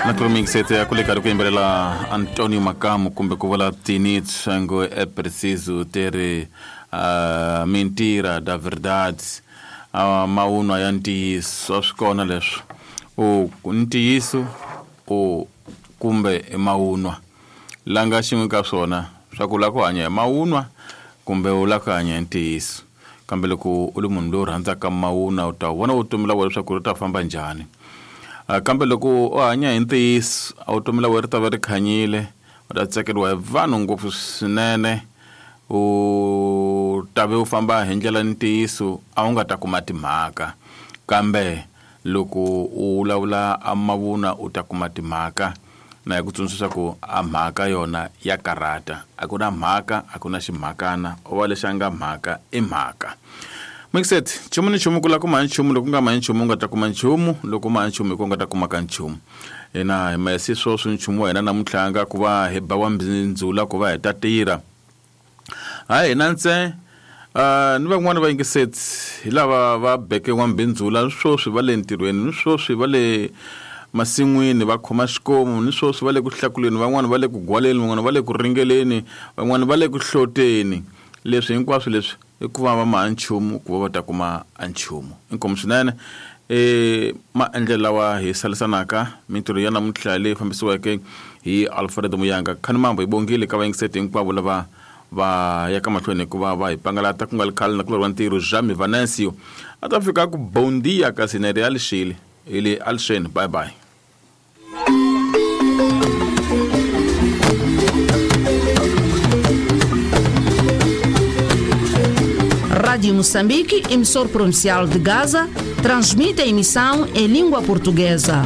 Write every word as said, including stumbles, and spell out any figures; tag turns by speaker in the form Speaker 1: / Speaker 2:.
Speaker 1: Naturalmente ya kule kari ku yimbelela Antonio Makamu kumbe ku vula Tinit Shango é preciso ter uh, mentira da verdade uh, maunwa ya ntiyiso swi kona leswo u ntiyiso u kumbe i maunwa langa xin'we ka swona swa ku la ku hanya hi maunwa kumbe u la ku hanya hi ntiyiso kambe loko u ri munhu loyi u rhandzaka maunwa u ta vona vutomi la wena leswaku ri ta famba njhani. Uh, kambe loko u hanya hi ntiyiso a vutomi la wena ri ta va ri khanyile u ta tsakeriwa hi vanhu ngopfu swinene u ta ve u famba hi ndlela ntiyiso a wu nga ta kuma timhaka kambe loko u vulavula a mavunwa u ta kuma timhaka na hi ku tsundzuxa ku a mhaka yona ya karata a ku na mhaka a ku na ximhakana u va lexi a nga mhaka i mhaka. Mixet nchumu ni nchumu ku la kuma nchumu loko nga ma nchumu u nga ta kuma nchumu loko ma nchumu hi ku nga ta kuma ka nchumu hina hi ma si sweswo nchumu wa hina namuntlha nga ku va hi ba wa mbindzula ku va hi ta tirha hayi hina ntse uh, ni van'wani va yingiseti hi lava va beke wa mbindzula sweswi va le ntirhweni ni sweswi va le masin'wini va khoma xikomu ni sweswi va le ku hlakuleni van'wani va le ku gwaleni van'wani va le ku ringeleni van'wani va le ku hloteni leswi hinkwaswo leswi i ku va va ma nchumu ku va va ta kuma a nchumu inkomu swinene e maendlelo lawa hi salisanaka mintirho ya namuntlha leyi fambisiweke hi Alfred Muyanga khani mambo hi bongile ka vayingiseti hinkwavo lava va ya ka mahlweni hikuva va hi pangalata ku nga ri khale na ku loriwa ntirho Jami Venancio a ta fika ku bondia kasi na ri alixile hi le alixeni bye bye.
Speaker 2: Rádio Moçambique, emissor provincial de Gaza, transmite a emissão em língua portuguesa.